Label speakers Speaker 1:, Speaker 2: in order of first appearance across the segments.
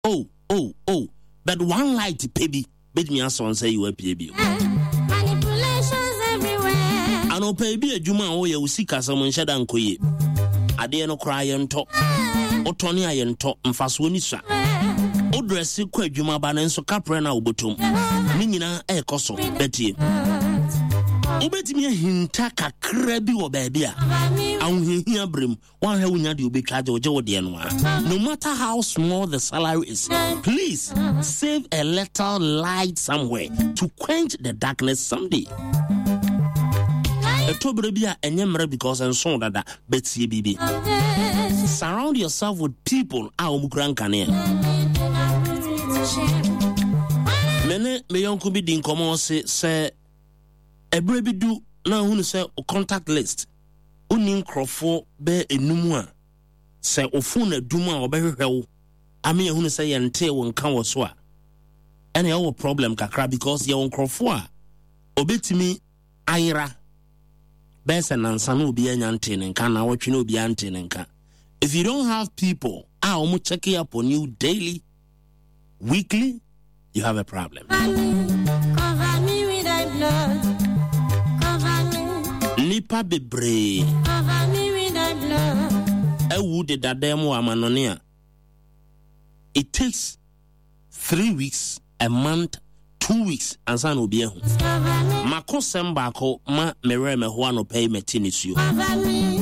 Speaker 1: Oh oh oh but one light pɛ bi bɛtumi asɔ nsa yi wapue bio. Anɔpa yi bi adwuma a woyɛ wo sikasɛm nhyɛ da nkɔ yie. Adeɛ no koraa yɛntɔ. Wotɔne a yɛntɔ mfasoɔ ni sua. Wodrɛse kɔ adwuma ba no nso kaprɛ no a wobɔtɔm. Ne nyinaa ɛrekɔ so bɛtie. Wobɛtumi ahinta kakra bi wɔ baabi a ahohiahia berɛ mu Woanhwɛ wonya deɛ obɛtwa agye wogye wo deɛ no a. No matter how small the salary is, please save a little light somewhere to quench the darkness someday. Ɛtɔ berɛ bi a ɛnyɛ mmerɛ because nso dada bɛtie biribi. Surround yourself with people a wɔn kura nkanea. Me ne me yɔnko bi di nkɔmmɔ ɔse sɛ ɛberɛ bi du na ahunu sɛ contact list Wonni nkurɔfoɔ bɛyɛ enum a, sɛ wo fon adum a wɔbɛhwehwɛ wo ama yɛahunu sɛ yɛntee wo nka wɔ so a, ɛna ɛwɔ problem kakra because yɛwɔ nkurɔfoɔ a obetumi ayera bɛyɛ sɛ nansa na obi anya ntee ne nka na wɔtwe na obi ante ne nka. If you don't have people a wɔn check up on you daily, weekly, you have a problem.
Speaker 2: Cover me with thy blood. Cover me.
Speaker 1: Nipa bebree.
Speaker 2: Cover me with thy blood.
Speaker 1: Awu deda dan mu amanɔne a. It takes 3 weeks, a month, 2 weeks ansa na obi ahu. Mako sɛm baako ma merɛ mɛho anɔpa yi mɛte nisuo.
Speaker 2: Cover me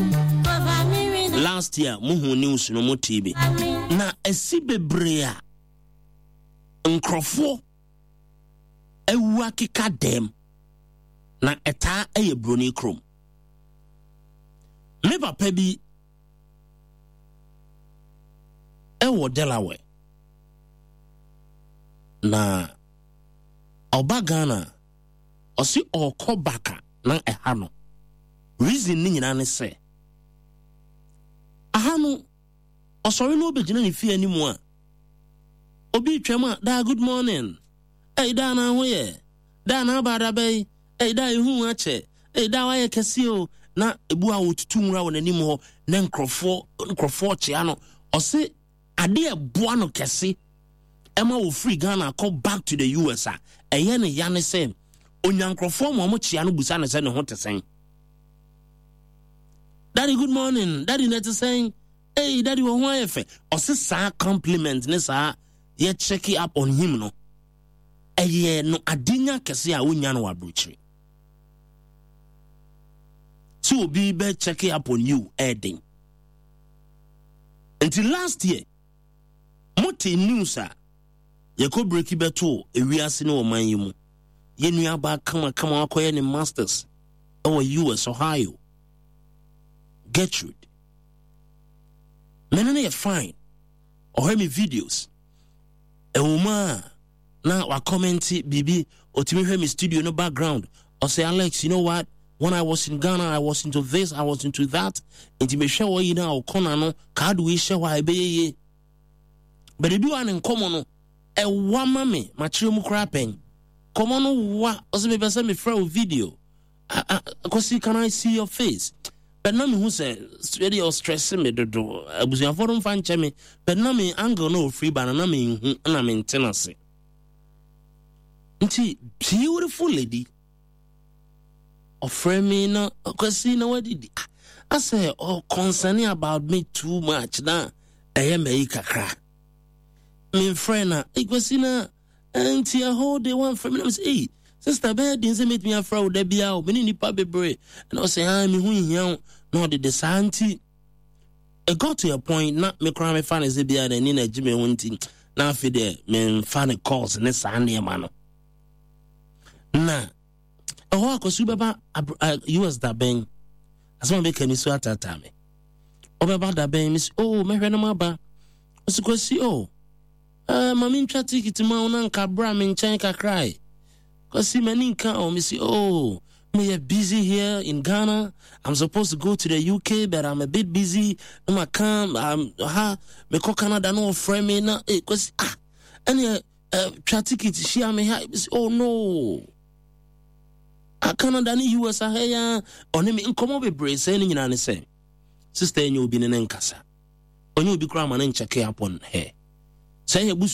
Speaker 2: with thy
Speaker 1: Last year muhu news no mu TV. Na esi bebree a nkurɔfoɔ awu akeka dɛm na ɛtaa ɛyɛ broni kurom. Me papa bi ɛwɔ Delaware na ɔba Ghana, ɔsi ɔkɔ baka na ɛha no reason ne nyinaa ne sɛ aha no ɔsɔre no ɔbɛgyina ne fie anim a obi twam a, "Daa, good morning. Ɛyi daa na ho yɛ daa na aba adaba yi. Ɛyi daa, ehu akyɛ. Ɛyi daa, wayɛ kɛseɛ o." Na ebu a wɔtutu nwura wɔ n'anim hɔ na nkurɔfoɔ kyea no. Ɔse adeɛ ɛboa no kɛse ɛma wɔfiri Ghana kɔ back to the US a ɛyɛ ne ya ne sɛ onya nkurɔfoɔ ma ɔmo kyea no busa ne sɛ ne ho te sɛn. "Daddy, good morning. Daddy, na te sɛn? Hey daddy, wɔ ho ayɛ fɛ." Ɔse saa compliment ne saa yɛ check up on him no ɛyɛ no adenya kɛse a wonya no wɔ aburokyire sɛ obi bɛ check up on you ɛɛden. Nti last year mote news a yɛkɔ break bɛto ewiase ne ɔman yi mu, yɛn nuabaa kamakama wakɔyɛ ne masters ɛwɔ US, Ohio, Gertrude. Mene no yɛ fine, ɔhwɛ me videos ɛwɔ mu a na wakɔmɛnti biribi. Ɔtumi hwɛ me studio no background, ɔsɛ, "Alex, you know what, when I was in Ghana, I was into this, I was into that." Nti mehwɛ wɔ yi no a ɔkɔna no kaado yi hyɛ hɔ a ɛbɛyɛ yie, but ebi wɔ a ne nkɔmmɔ no ɛwa ma me makyerɛ mu koraa pɛn kɔmmɔ no wa. Ɔsɛ mepɛ sɛ mefrɛ wo video, "Kwasi, can I see your face?" But na mehu sɛ ɛdeɛ ɔstress me dodo. Abusuafoɔ no mfa nkyɛ me, but na me angle na ɔfiri ba no na menhu na mente no ase. Nti beautiful lady ɔfrɛ me na, "Kwasi, na wadidi?" Ah, asɛ ɔ concerning about me too much na ɛyɛ mayi kakra. Memfrɛ na, "Hey, Kwasi, na nti ɛhɔ de wamfrɛ me?" Na mesɛ, "Ei sister, bɛyɛ den sɛ mɛtumi afrɛ wo da biaa o, mene nnipa bebree." Ɛna ɔsɛ, "Ah, meho nhia wo." Na ɔde de saa nti it got to a point na me koraa mefa ne sɛ biaa n'ani na agye me ho, nti na afei deɛ memfa ne calls ne saa nneɛma no. Na ɛhɔ akɔso bɛba US da bɛn? Asɛm a bɛka ni so ataataa me. Ɔbɛba da bɛn? Mesi, "Oh, mɛhwɛ no maba." Ɔsi, "Kwasi, oh, ma mentwa ticket ma wo na nka bra me nkyɛn kakra. Kwasi, m'ani nka o." Mesi, "Oh, meyɛ busy here in Ghana. I'm supposed to go to the UK, but I'm a bit busy." Na maka ha mekɔ Canada na ɔfrɛ me na, "Eh, Kwasi, ah, ɛneɛ twa ticket hyia me ha." Mesi, "Oh no, ah, Canada ne US aha ya." Ɔne me nkɔmmɔ bebree sɛ ne nyinaa ne sɛ sister ɛnyɛ obi ne ne nkasa, ɔnyɛ obi koraa ma ne ncheck up on her. Sɛ yɛ busua.